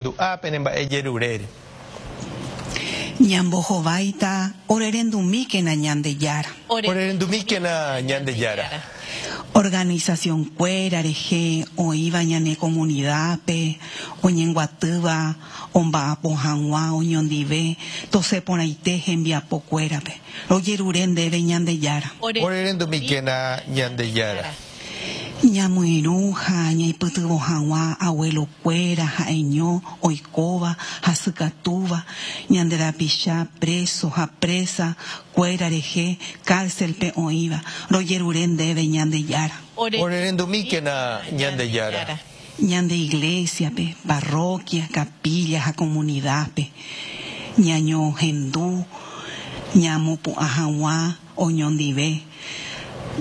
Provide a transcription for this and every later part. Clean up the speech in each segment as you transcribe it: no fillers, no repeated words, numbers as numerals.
Du'a pene mba'e jerurére. Ñambohováita, Orerendumíkena Ñandejára. Orerendumíkena Ñandejára. Organización-kuéra rehe oĩva ñane comunidad-pe oñenguatýva omba'apo hag̃ua oñondive tosẽ porãite hembiapokuérape. Rojerure ndéve Ñandejára. Orerendumíkena Ñandejára. Ñamoirũ ha ñaipytyvõ hag̃ua abuelo-kuéra ha'eño oikóva hasykatúva ñande rapicha preso ha presa kuéra rehe cárcel-pe oĩva, rojerure ndéve Ñandejára. Orerendumíkena Ñandejára. Ñande iglesia-pe, parroquia, capilla ha comunidad-pe, ñañohendu ñamopu'ã hag̃ua Oñondive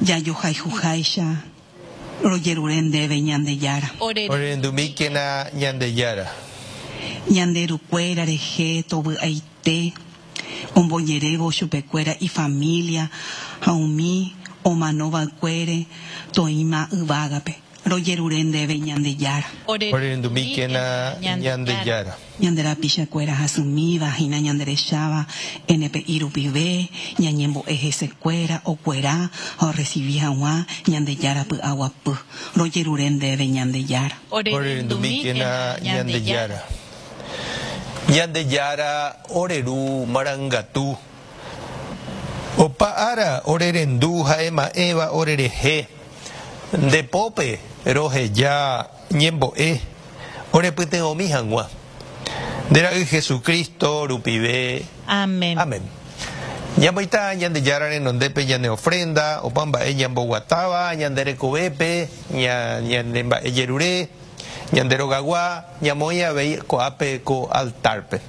jajohayhuháicha rojerure ndéve Ñandejára. Orerendumíkena Ñandejára. Ñande rukuéra rehe tovy'aite ombojerévo chupekuéra ifamília ha umi omanova'ekuére toĩma yvágape. Rojerure ndéve Ñandejára. Orerendumíkena Ñandejára. Ñande rapichakuéra hasymíva hína ñanderecháva NPI rupive, ñañembo'e hesekuéra okuera ha orresivi hag̃ua Ñandejára py'aguapy. Rojerure ndéve Ñandejára. Orerendumíkena Ñandejára. Ñandejára ore Ru marangatu. Opa ára ore rendu ha ema'ẽva orerehe, nde pópe roheja ñembo'e orepytyvõmi hag̃ua. Nde Ra'y Jesucristo rupive. Amén. Amén. Ñamoĩta Ñandejára renondépe ñane ofrenda, opa mba'e ñamboguatáva ñande rekovépe, ñane mba'e jerure, ñande rogagua, ñamoĩ avei ko'ápe ko altárpe.